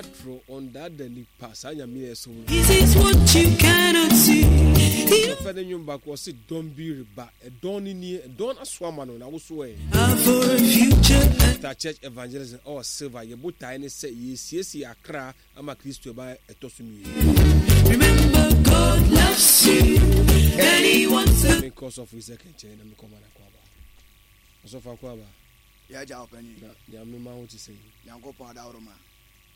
atorɔ, ɔndaada nipa, saa Nyame a yɛsom no. This is what you cannot see. Ɔfɛ ne nnwom baako ɔse dɔm bi reba, ɛdɔn no nie, ɛdɔn aso ama no na woso ɛ. For a future. Star Church Evangelism ɔwɔ Silver, yɛ botae ne sɛ yɛsiesie akra ama Kristo ɛba ɛtɔ so mmienu. Remember God loves you and he wants to. Menkɔ ɔsɔfo Isaac nkyɛn na mekɔma no akɔ aba. Ɔsɔfo akɔ aba. Yɛagya ɔpanyin. Na Nyame ma wo te sɛ yi. Nyankopɔn adaworoma.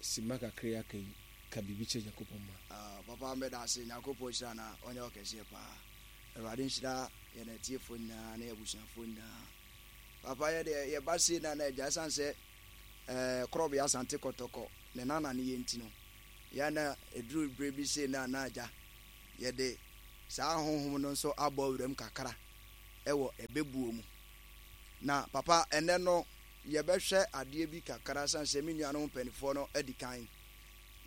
Sima kakra yi aka yi, ka biribi kyerɛ Nyankopɔn ma. Ah, papa meda ase, Nyankopɔn nhyira na ɔnyɛ wo kɛseɛ paa. Awurade nhyira yɛn atiefoɔ nyinaa ne abusuafoɔ nyinaa. Papa yɛ deɛ yɛba sei na na agya ɛsiane sɛ eh, Korɔbea Asante Kɔtɔkɔ ne nana ne yɛ nti no, yɛ na ɛduru berɛ bi sei na na agya yɛde saa honhom no nso abɔ awuram kakra ɛwɔ ɛbɛbuo mu. Na papa, ɛnnɛ no yɛbɛhwɛ adeɛ bi kakra sane sɛ me nuanom mpaninfoɔ no adi kan.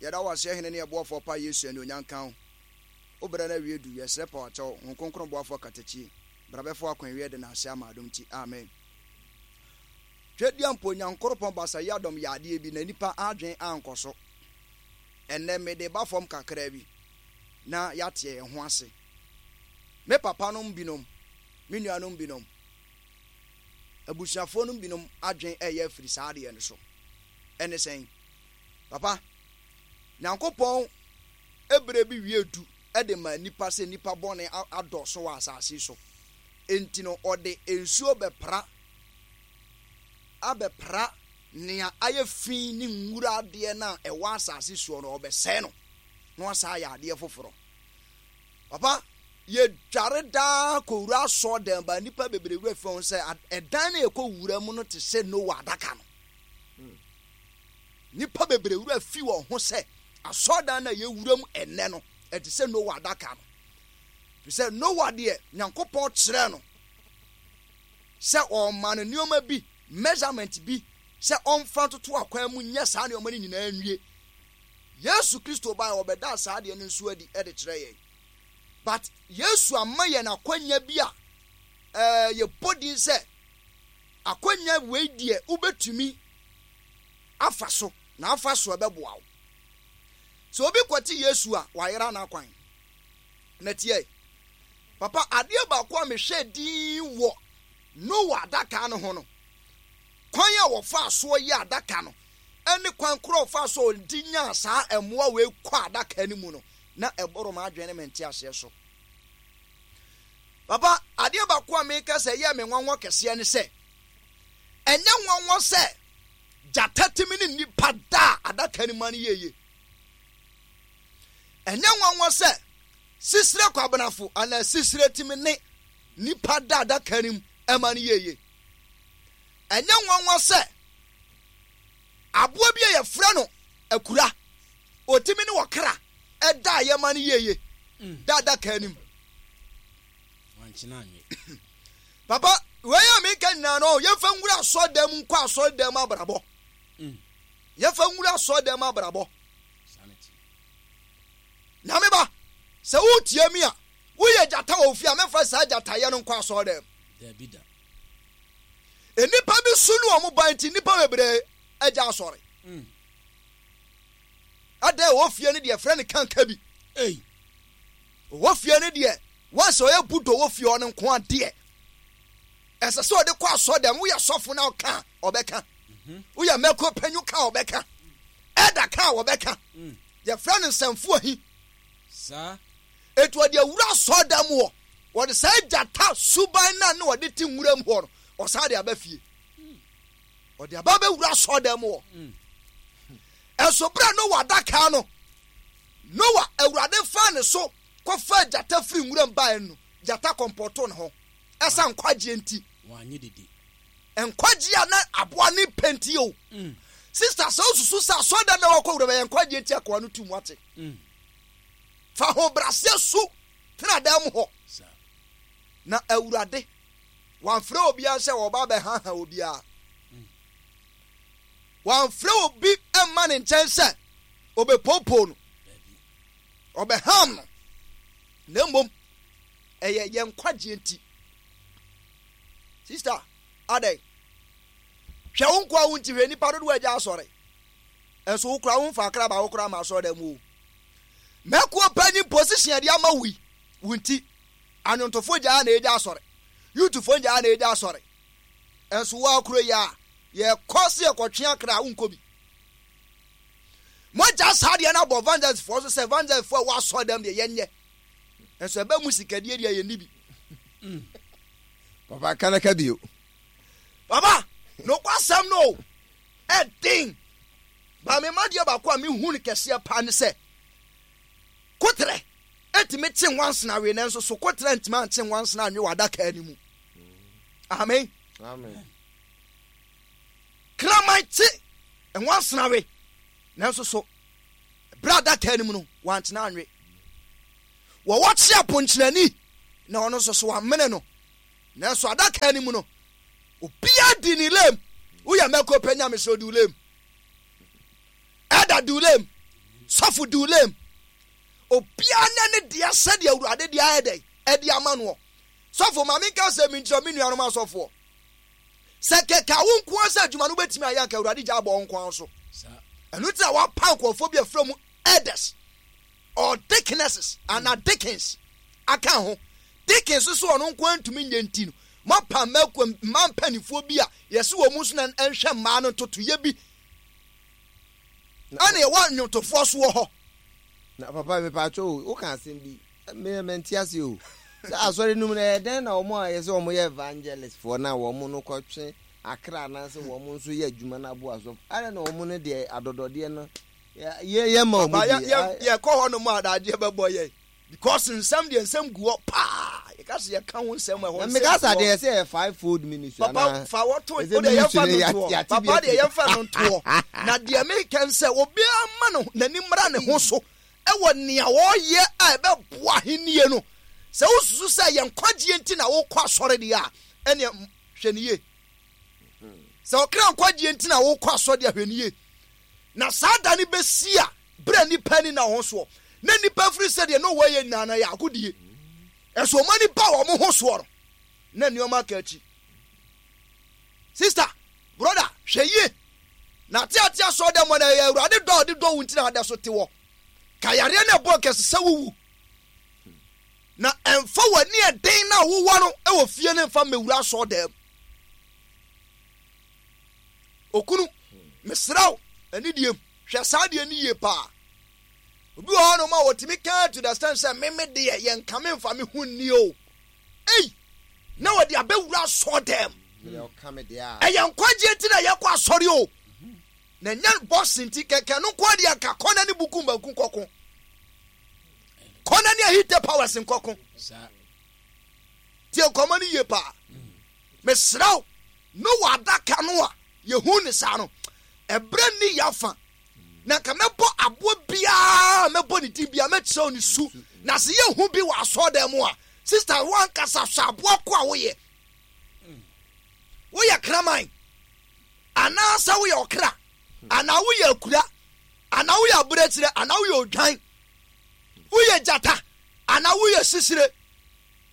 Yɛda wo ase Hene ne Ɛboafoɔ pa Yesu anuonyam nka wo. Wo berɛ no awie du, yɛsrɛ pa wakyɛw, Honhom Kronkron boafoɔ katakyie, bra bɛfa w'akwan wie de nase ama adom nti, amen. Twedeɛ mpo Nyankoropɔn Basa Yiadom yɛ adeɛ bi na nipa adwen ankɔ so. Ɛnnɛ mede ba fam kakra bi na yɛateɛ yɛn ho ase. Me papanom binom, me nuanom binom, abusuafoɔ no binom adwen ɛyɛ afiri saa adeɛ no so. Ɛne sɛn? Papa, Nyankopɔn ɛberɛ bi wie du de ma nnipa sɛ nnipa bɔne adɔɔso wɔ asase so. Enti no ɔde nsuo bɛpra abɛpra nea ayɛ fi ne nwura adeɛ no a ɛwɔ asase soɔ no, ɔbɛsɛe no na wasan ayɛ adeɛ foforɔ. Papa, yɛdware daa kɔwura asɔɔdan ba nnipa bebree wura fi wɔn sɛ ɛdan no yɛkɔ wura mu no te sɛ Noa adaka no. Nnipa bebree wura fi wɔn ho sɛ asɔɔdan no a yɛwura mu ɛnnɛ no ɛte sɛ Noa adaka no. Fi sɛ Noa deɛ Nyankopɔn kyerɛɛ no sɛ ɔma no nneɛma bi measurement bi sɛ ɔmfa ntoto akwan mu nyɛ saa nneɛma no nyinaa nwie. Yesu Kristo bae ɔbɛdaa saa adeɛ no nso adi de kyerɛ yɛn. But Yesu ama yɛn akwanya bi a ɛɛ yɛbɔ din sɛ akwanya wei deɛ wobɛtumi afa so na afa so ɛbɛboa wo. Sɛ obi kɔte Yesu a wayera n'akwan. Na tiɛ, papa adeɛ baako a mehwɛ din wɔ Noa adaka no ho no, kwan a wɔfaa soɔ yɛ adaka no ne kwan korɔ a ɔfaa so a ɔde nyaa saa mmoa wei kɔ adaka no mu no, na ɛboro m'adwene ne me nteaseɛ so. Papa, adeɛ baako a meka sɛ ɛyɛɛ me nwanwa kɛseɛ ne sɛ, ɛnyɛ nwanwa sɛ gyata tumi ne nnipa da a adaka no mu ano yie. Ɛnyɛ nwanwa sɛ sisire kwabenafo anaa sisire tumi ne nnipa da adaka no mu ɛma no yie. Ɛnyɛ nwanwa sɛ aboa bi a yɛfrɛ no akura, ɔtumi ne ɔkra ɛda a yɛma no yieye mm. da adaka anim. Papa, wei a meka nyinaa no, yɛmfa nwura asɔredan mu nkɔ asɔredan mu abrabɔ. Mm. Yɛmfa nwura asɔredan mu abrabɔ. Nyame ba, sɛ wotie mi a, woyɛ gyata wɔ ofie a, mɛmfa saa gyatayɛ no nkɔ asɔredan mu. Nnipa bi su ne wɔn ba nti nnipa bebree agya asɔre. Mm. Ada ɛwɔ fie no deɛ frɛ no kanka bi. Ei. Ɔwɔ fie no deɛ once ɔyɛ budo wɔ fie ɔno nko adeɛ. Ɛsɛ sɛ ɔde kɔ asɔ dɛm woyɛ sɔfo na ɔka a ɔbɛka. Mhm. Woyɛ mɛko panyu ka a ɔbɛka. Ɛda ka a ɔbɛka. Mm. Yɛfrɛ no nsɛmfo ahi. Saa. Eti ɔde awura asɔɔdan mu hɔ. Wɔde saa gyata suban no a na ɔde te nwura mu hɔ no, ɔsan de aba fie. Ɔde aba bɛwura asɔɔdan mu hɔ. Ɛnso berɛ a Noa adaka no, Noa, Awurade faa ne so kɔfaa gyata firi nwura mu baeɛ no, gyata kɔmpɔtoo ne ho. Ɛsa nkwagyeɛ nti. Nkwagyeɛ a na aboa ne pɛ nti o. Mm. Sista, sɛ wosusu sɛ asɔɔdan na wɔkɔ wura bɛyɛ nkwagyeɛ nti akoa no tu mu ate. Mm. Fa ahobrɛaseɛ su tena dan mu hɔ. Na Awurade, wamfrɛ obiara sɛ ɔba abɛhaha obiara. Wamfrɛ obi mma ne nkyɛn sɛ ɔbɛpoopoo no, ɔbɛham no, na mmom ɛyɛ yɛn nkwagyeɛ nti. Sista, adɛn? Hwɛ wo nkoa wo nti hwɛ nnipa dodoɔ agya asɔre. Nso wo koraa womfa akra baako koraa ma asɔredan mu o. Mɛkuo panyin position yɛde ama wo yi, wo nti, anwontofo gyaa na egya asɔre, youthfo gyaa na egya asɔre. Nso wo akuro yi a, yɛkɔ se yɛkɔtwe akra a, wonkɔ bi. Moagya saa deɛ no abɔ evangelistfoɔ so sɛ evangelistfoɔ a ɛwɔ asɔredan deɛ yɛnyɛ. Nso ɛbɛ mu sikadie deɛ yɛnni bi. Papa kanaka bio. Papa, nokwasɛm no o, ɛden. Ba me ma deɛ baako a mehu no kɛseɛ paa ne sɛ, kotrɛ ɛtumi kye nwansena we nanso so kotrɛ ntumi ankye nwansena anwe wɔ adaka no mu. Amen. Amen. Kraman kye nwansena we nanso so berɛ adaka no mu no wankyena anwe. Wɔwɔ kye aponkyerɛni na ɔno nso so wamene no. Nanso adaka no mu no, obiara di ne lem. Woyɛ mɛko pɛ nyame sɛ odi lem. Ɛda di lem. Sɔfo di lem. Obiara nyɛ ne deɛ sɛdeɛ Awurade deɛ ayɛ dɛn ɛde ama noɔ. Sɔfo ma menka sɛ menkyerɛ me nuanom asɔfoɔ. Sɛ kɛkɛ wo nko ara sɛ adwuma no wobɛtumi ayɛ anka Awurade gya abɔ wo nko ara so. Ɛno nti na wapa nkurɔfoɔ bi afrɛ mu elders or deaconesses anaa deacons aka ho. Deacons nso ɔno nko ara ntumi nyɛ nti no, moapa mmaa mpanimfoɔ bi a yɛse wɔn nso na nhwɛ mmaa no ntotoyɛ bi. Ɛna yɛwɔ nnwomtofoɔ so wɔ hɔ. Na papa mepatwo o, woka asɛm bi, me mente ase o. Sɛ asɔre no mu no, ɛyɛ dɛn na wɔn a yɛsɛ wɔn yɛ evangelist foɔ na wɔn no kɔtwe akra anaasɛ wɔn nso yɛ adwuma no aboa asɔfo, adɛn na wɔn no deɛ adɔdɔdeɛ no yɛ yɛ ma wɔn Papa, bi? yɛ yɛ yɛkɔ hɔ nom a adagyeɛ bɛbɔ yɛn because nsɛm deɛ nsɛm gu hɔ paa. Yɛka sɛ yɛka ho nsɛm ɛhɔ Na nsɛm meka gu sɛ hɔ. adeɛ yɛsɛ yɛ five fold ministry Papa anaa fa wɔto ɛsɛ wo deɛ ministry yɛmfa no no yɛate ntoɔ. yɛate bi Papa deɛ afiri. yɛmfa no ntoɔ. Na deɛ meka n sɛ obiara mma no n'ani mmra ne ho so ɛwɔ nea ɔreyɛ a ɛbɛboa ahennie no. Sɛ wosusu sɛ yɛn nkwagyeɛ nti na wokɔ asɔre deɛ a, ɛneɛ hwɛ no yie. Sɛ ɔkra nkwagyeɛ nti na wokɔ asɔre deɛ a, hwɛ no yie. Na saa da no bɛsi a berɛ a nnipa ani nna wɔn ho soɔ, na nnipa firi sɛ deɛ Noa yɛ nyinaa no yɛ agodie. Ɛso wɔn ani ba wɔn ho soɔ no, na nneɛma aka akyi. Sista, broda, hwɛ yie. Na ateatea sɔɔ dɛ mɔ na ɛyɛ Awurade dɔ a ɔde dɔ wo nti na ada so te wɔ. Ka yareɛ no ɛbɔ nkɛse sɛ wowu. Na ɛmfa w'ani ɛden na wowɔ no wɔ fie no mfa mmɛwura asɔɔ dɛm. Okunu, mesrɛ wo, anidie mu, hwɛ saa adeɛ no yie paa. Obi wɔ hɔnom a wɔtumi ka to the extent sɛ me me deɛ yɛnka me mfa me ho nni o. Ei, na wɔde abɛwura asɔɔdɛm. Ɛyɛ nkwagyeɛ nti na yɛkɔ asɔre o. Na ɛnyɛ boxing nti kɛkɛ no nko adeɛ nka kɔ na ne buku mbanku nkɔko. Kɔ na ne ahite powers nkɔko. Tie nkɔmmɔ no yie paa. Mesrɛ wo, Noa adaka no a yɛhu ne saa no, ɛberɛ nni yɛafa. Na nka mɛbɔ aboa biara mɛbɔ ne din biara mɛkyerɛw ne su. Na sɛ yɛhu bi wɔ asɔɔdan mu a, sista wankasa hwɛ aboa ko a woyɛ. Woyɛ kraman anaasɛ woyɛ ɔkra anaa woyɛ akura anaa woyɛ aberɛkyerɛ anaa woyɛ odwan woyɛ gyata anaa woyɛ sisire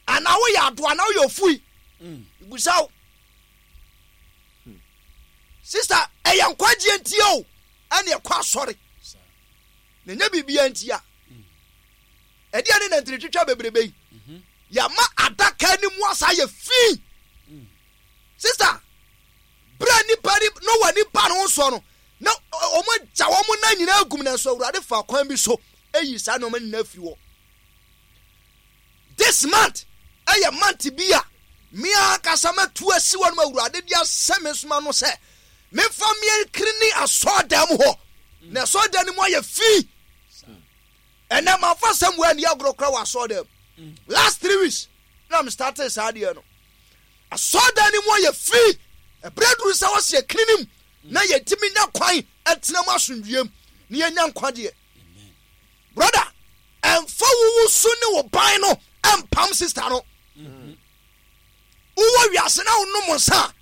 anaa woyɛ adoa anaa woyɛ ofui busa wo sista ɛyɛ nkwagyeɛ ntia o ɛne ɛkɔ asɔre na ɛnyɛ biribia ntia ɛdeɛ ne nantiri twitwa bebrebe yi mhm. yɛama adaka no mu asa yɛ fi mm. sista berɛ nipa ni noa nipa no ho soɔ no na wɔn agya wɔn nan nyinaa agum nanso awurade fa kwan bi so eyi saa nneɛma nyinaa firi hɔ This month ɛyɛ month bi a me ankasa matu asi hɔ nom Awurade de ahyɛ me soma no sɛ memfa meɛnkiri asɔɔdan mu hɔ na asɔɔdan no mu ayɛ fi. Ɛnɛ mamfa sɛm wɔ ani agorɔ kora wɔ asɔɔdan mu. Last 3 weeks na me started saa adeɛ no. Asɔɔdan no mu ayɛ fi. Ɛberɛ duru sɛ wɔsi akiri no mu na yɛntumi nya kwan ɛtena mu asomdwoeɛ mu na yɛnya nkwagyeɛ. Brother, ɛmfa wo wo su ne wo ban no ɛmpam sister no. Wowɔ wiase na wonom nsa a,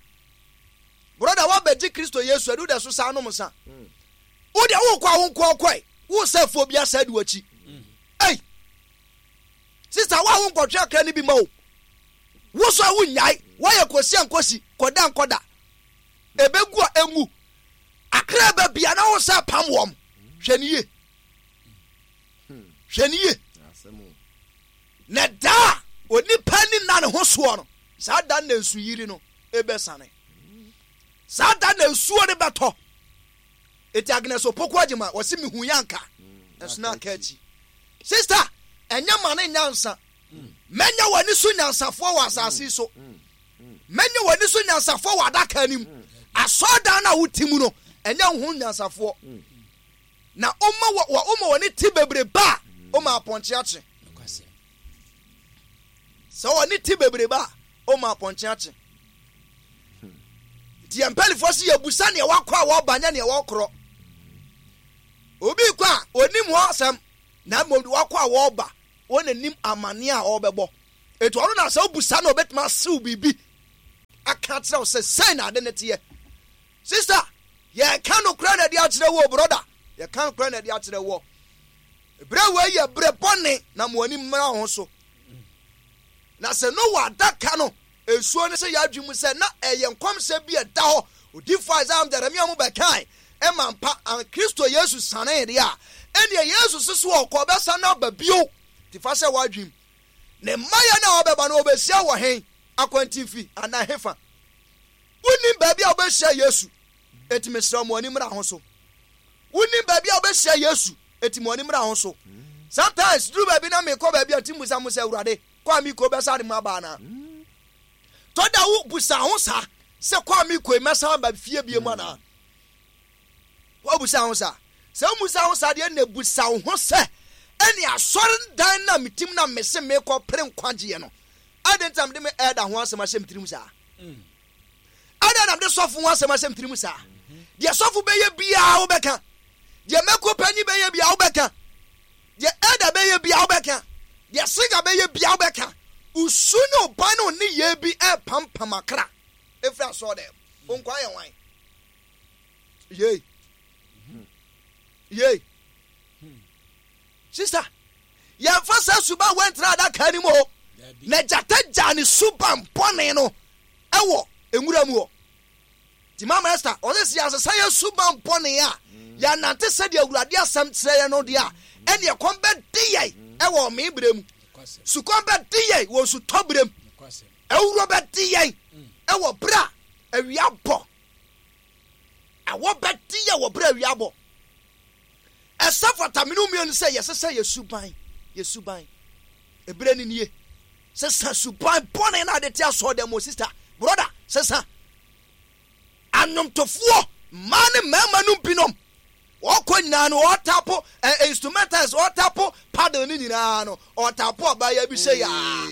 brother woabɛgye Kristo Yesu adi wode so saa nom nsa. Wo deɛ wokɔ a wo nko ɔkɔe, wo sɛ afuo bi asa adi w'akyi. Ei, sister wo a wonkɔtwe akra no bi ma o. Wo so a wonnyae, woayɛ kɔsi a nkɔsi, kɔda nkɔda. Ɛbɛgu a ɛngu. Akra ba bia na wo sɛ pam wɔm. Hwɛ ne yie. Hwɛ ne yie. Na da a onipa ni nna ne ho soɔ no, saa da na nsuyiri no ɛbɛsane. Saa da na nsuo no bɛtɔ. Eti Agnes Opoku Agyima wɔsi mehu yɛ anka ɛso na aka akyi. Sister, ɛnyɛ ma ne nyansa. Mɛnyɛ w'ani so nyansafoɔ wɔ asase so. Mɛnyɛ w'ani so nyansafoɔ wɔ adaka anim. Asɔredan no a wote mu no, ɛnyɛ wo ho nyansafoɔ. Na woma wɔ woma w'ani te bebrebe a, woma apɔnkye akye. Sɛ w'ani te bebrebe a, woma apɔnkye akye. Nti yɛn mpanimfoɔ si yɛbusa neɛ wakɔ a wɔba nyɛ neɛ wɔkorɔ. Obi kɔ a onim hɔ asɛm na mmom de wakɔ a wɔba wɔn anim amaneɛ a ɔrebɛbɔ. Eti ɔno na sɛ wobusa no obetumi asew biribi aka akyerɛ wo sɛ sɛn na ade no teɛ. Sista, yɛka nokorɛ na ɛde akyerɛ wo brɔda. Yɛka nokorɛ na ɛde akyerɛ wo. Berɛ wei yɛ berɛ bɔne na mo ani mmra ho so. Na sɛ Noa adaka no nsuo no sɛ yɛadwene mu sɛ na ɛyɛ nkɔmhyɛ bi a ɛda hɔ odiyifoɔ Isaiah ne Jeremia mu bɛkae ɛma mpa an Kristo Yesu sanee deɛ a, ɛnneɛ Yesu se so ɔkɔ ɔbɛsan aba bio. Nti fa hyɛ w'adwene mu. Ne mmaeɛ no a ɔbɛba no ɔbɛhyia wɔ hen? Akwantinfi anaa hefa? Wonnim baabi a wobɛhyia Yesu, enti mesrɛ wo ma w'ani mmra ho so. Wonnim baabi a wobɛhyia Yesu, enti ma w'ani mmra ho so. Sometimes duru baabi na mekɔ baabi a nti mmusa mo sɛ Awurade, kɔ a mekɔ bɛsa de mu aba anaa? Tɔ da wo busa ho saa sɛ kɔ a mekɔ yi mɛsan aba fie bie mu anaa? Woabusa ho saa? Sɛ womusa ho saa deɛ na busa wo ho sɛ ɛne asɔredan na metim na mese mekɔ pere nkwagyeɛ no adɛn nti na mede me ɛda ho asɛm ahyɛ me tirim saa? Adɛn na mede sɔfo ho asɛm ahyɛ me tirim saa? Deɛ sɔfo bɛyɛ biara wobɛka, deɛ mɛko panyin bɛyɛ biara wobɛka, deɛ ɛda bɛyɛ biara wobɛka, deɛ siga bɛyɛ biara wobɛka. Osu ne ɔban ne ɔne bi ɛrepampam akra efiri asɔɔ dɛm. Onkwa yɛ wan? Yei. Yei. Sista, yɛmfa saa suban wei ntra adaka no mu o. Na gyata gyaa ne suban bɔne no ɛwɔ nwura mu hɔ. Nti Mama Esther, ɔsɛ sɛ yɛasesa yɛn suban bɔne a, yɛanante sɛdeɛ Awurade asɛm kyerɛ yɛn no deɛ a, ɛne ɛkɔm bɛde yɛn ɛwɔ ɔmee berɛ mu. Sukɔm bɛde yɛn wɔ nsutɔ berɛ mu. Awuro bɛde yɛn ɛwɔ berɛ a awia bɔ. Awɔ bɛde yɛn wɔ berɛ a awia bɔ. Ɛsɛ fata mene mmienu sɛ yɛsesa yɛ suban, yɛ suban. Ebere ni nie. Sesa suban bɔne na ade te asɔ dɛm o sister, brother, sesa. Anwomtofoɔ mmaa ne mmarima no binom wɔkɔ nyinaa no wɔtapo eh, instrumentals wɔtapo paddle ne nyinaa no ɔtapo ɔbaa bi sɛ yaa.